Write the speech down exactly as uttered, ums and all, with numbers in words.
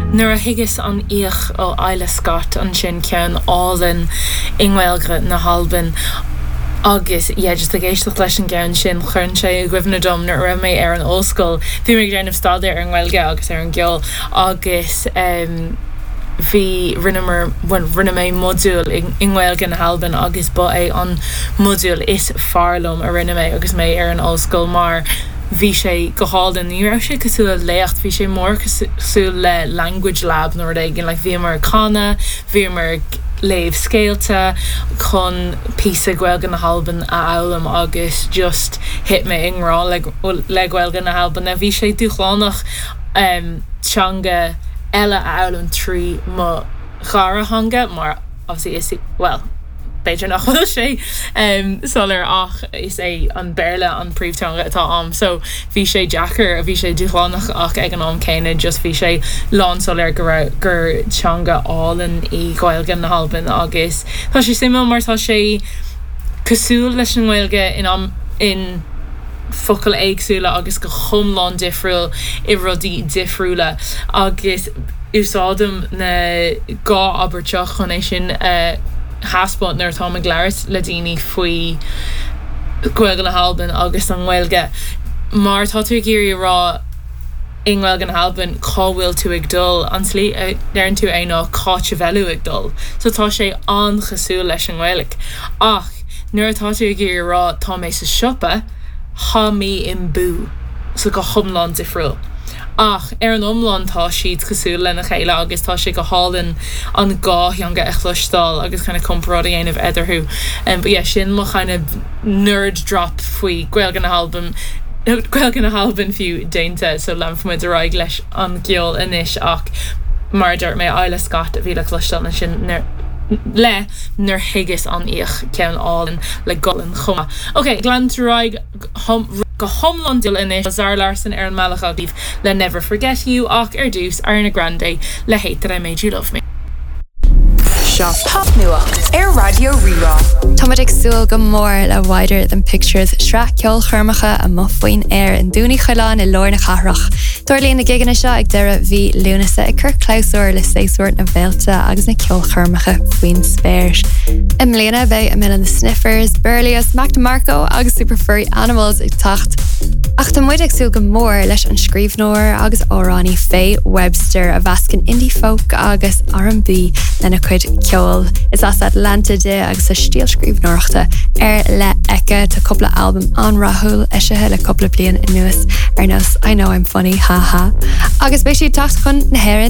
Nuair a thigeas an oích ó Isla Scott ansin ceann álainn i nGaeilge na hAlban agus yeah, just ag éisteacht leis an gceann sin chuir sé i gcuimhne dom nuair a raibh mé ar an ollscoil bhí mé ag déanamh staidéar ar an nGaeilge agus ar an gceol agus um, bhí rinneamar rinne mé modúl i nGaeilge na hAlban agus ba é an modúl is fearr liom a rinne mé agus mé ar an ollscoil mar bhí sé go hálainn ní raibh sé cosúil le léacht bhí sé mór cosúil le language lab nó rud éigin like bhíomar ag canadh bhíomar ag léamh scéalta chun píosa Gaeilge na hAlban a fhoghlaim agus just thit mé i ngrá le le Gaeilge na hAlban a bhí sé dúshlánach um, teanga eile a fhoghlaim trí mo dhara theanga mar obviously is well b'fhéidir nach bhfuil sé um, soiléir ach is é an Béarla an príomhtheanga atá agam so bhí sé deacair a bhí sé dúshlánach ach ag an am céanna just bhí sé lánsoiléir go raibh gur teanga álainn í Gaeilge na hAlban agus tá sé suimiúil mar tá sé cosúil leis an nGaeilge in am in focail éagsúla agus go hiomlán difriúil i rudaí difriúla agus úsáidim na dhá abairt seo chun é sin uh, thaispeáint nuair atá ag labhairt le daoine faoi Gaeilge na hAlban agus an Ghaeilge. Mar tá tú ag iarraidh rá i nGaeilge na hAlban cá bhfuil tú ag dul an tslí a ndeireann tú é ná cá bhfuil tú ag dul. So tá sé an-chosúil leis an nGaeilge. Ach nuair atá tú ag iarraidh rá tá mé sa siopa, Tha mi im boo so go hiomlán difriúil. Ach ar an iomlán tá siad cosúil lena chéile agus tá sé go hálainn an dhá theanga a chloisteáil agus kind of comparáid a dhéanamh eatarthu. Um, but yeah, sin mo kind of nerd drop faoi Gaeilge na hAlban Gaeilge na hAlban fiú déanta so leanfaimid ar aghaidh leis an gceol anois ach mar dúirt mé Isla Scott a bhí le cloisteáil sin le nuair thigeas an oích ceann álainn le Gaelainn chomh maith. Ok, lean ar aghaidh go hiomlán dul anois Zara Larsson ar an mbealach agaibh le Never Forget You ach ar dtús Ariana Grande le Hate That I Made You Love Me. Seo popnuacht ar Raidió Rí-Rá. Táimid ag súil go mór le Wider Than Pictures sraith ceolchoirmeacha amuigh faoin aer i nDún Uí Choileáin i lár na cathrach. Tarlaíonn na gigeanna seo ag deireadh mhí Lúnasa ag cur clabhsúr le séasúr na bhféilte agus na ceolchoirmeacha faoin spéir. I mbliana beidh Amyl and the Sniffers, Berlioz, Mac DeMarco agus Super Furry Animals ag teacht. Ach tá muid ag súil go mór leis an scríbhneoir agus amhránaí Faye Webster a mheascann indie folk agus R&B lena cuid ceoil. Is as Atlanta di agus a stíl scríbhneoireachta ar leith aici tá cúpla albam an-rathúil eisithe le cúpla bliain anuas ar nós I know I'm funny haha. Agus beidh sí ag teacht chun na hÉireann